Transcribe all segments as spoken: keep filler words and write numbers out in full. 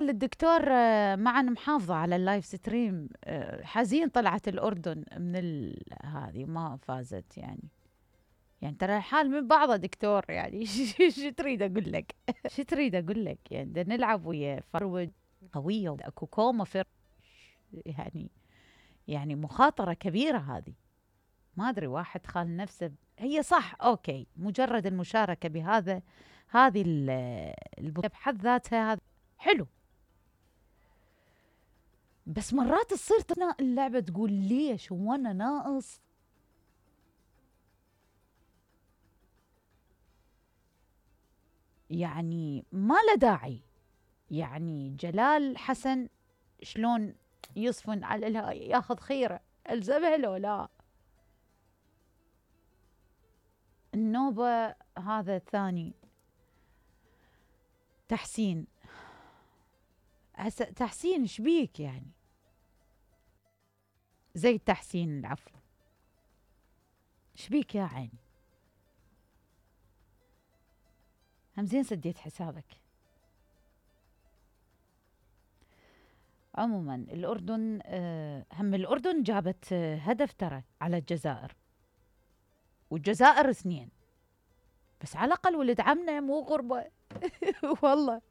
قال الدكتور معا محافظة على اللايف ستريم، حزين طلعت الأردن من هذه ما فازت. يعني يعني ترى الحال من بعضه دكتور، يعني شو تريد أقول لك؟ شو تريد أقول لك؟ يعني بدنا نلعب ويا فرود قوية وأكو كوما فر يعني يعني مخاطرة كبيرة هذه. ما أدري واحد خال نفسه. هي صح أوكي، مجرد المشاركة بهذا هذه البطولة بحد ذاتها هذا حلو، بس مرات تصير اللعبة تقول ليش هو أنا ناقص. يعني ما له داعي. يعني جلال حسن شلون يصفن على ياخذ خيره، الزمها لو لا. النوبة هذا الثاني تحسين. تحسين شبيك يعني؟ زي التحسين العفو، شبيك يا عيني؟ هم زين سديت حسابك. عموما الأردن هم الأردن جابت هدف ترى على الجزائر، والجزائر اثنين بس، على الأقل ولد عمنا مو غربة. والله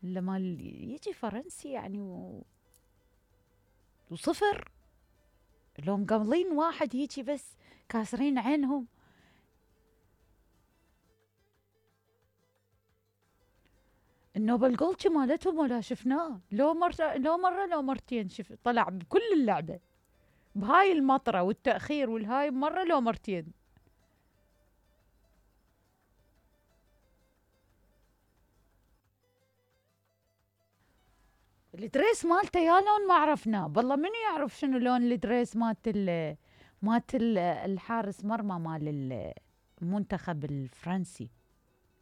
لما يجي فرنسي يعني و... وصفر، لو مقاملين واحد هيجي بس كاسرين عينهم. النوبل جولد مالتهم ولا شفناه، لو مرة لو مرة لو مرتين شف طلع بكل اللعبة بهاي المطرة والتأخير والهاي مرة لو مرتين. الدريس مالته يا لون ما عرفناه، بالله من يعرف شنو لون الدريس مالت ال مالت الحارس مرمى مال المنتخب الفرنسي.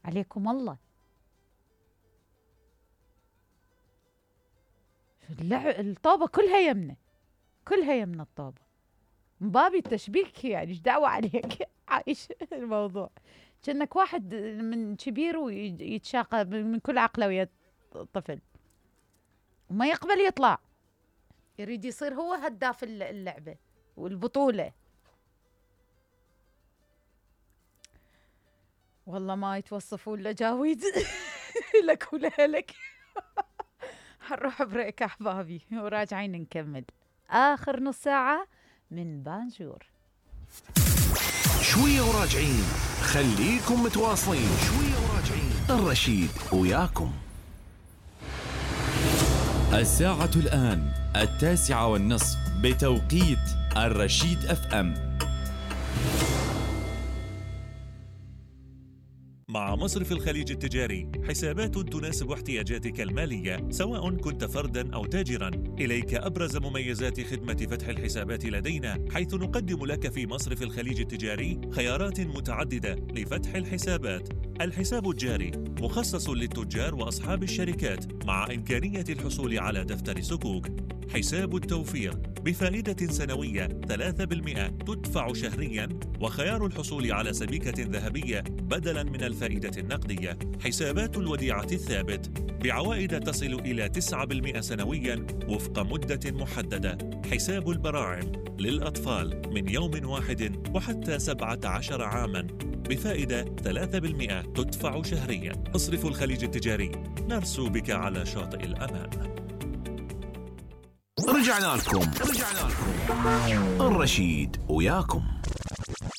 عليكم الله. الطوبة كلها يمنه، كلها يمنه الطوبة. مبابي التشبيك يعني ايش دعوة عليك؟ عايش الموضوع كأنك واحد من كبير ويتشاقى من كل عقله ويا الطفل وما يقبل يطلع، يريد يصير هو هداف اللعبة والبطولة. والله ما يتوصفون لجاويد. لك ولك. حنروح بريك أحبابي وراجعين نكمل آخر نص ساعة من بانجور. شوية وراجعين، خليكم متواصلين. شوية وراجعين، الرشيد وياكم. الساعة الآن التاسعة والنصف بتوقيت الرشيد أف أم. مع مصرف الخليج التجاري، حسابات تناسب احتياجاتك المالية سواء كنت فرداً أو تاجراً. إليك أبرز مميزات خدمة فتح الحسابات لدينا، حيث نقدم لك في مصرف الخليج التجاري خيارات متعددة لفتح الحسابات. الحساب الجاري مخصص للتجار وأصحاب الشركات مع إمكانية الحصول على دفتر صكوك. حساب التوفير بفائدة سنوية ثلاثة بالمئة تدفع شهرياً، وخيار الحصول على سبيكة ذهبية بدلاً من الفائدة النقدية. حسابات الوديعة الثابت بعوائد تصل إلى تسعة بالمئة سنوياً وفق مدة محددة. حساب البراعم للأطفال من يوم واحد وحتى سبعة عشر عاماً بفائدة ثلاثة بالمئة تدفع شهرياً. مصرف الخليج التجاري، نرسو بك على شاطئ الأمان. رجعنا لكم رجعنا لكم الرشيد وياكم.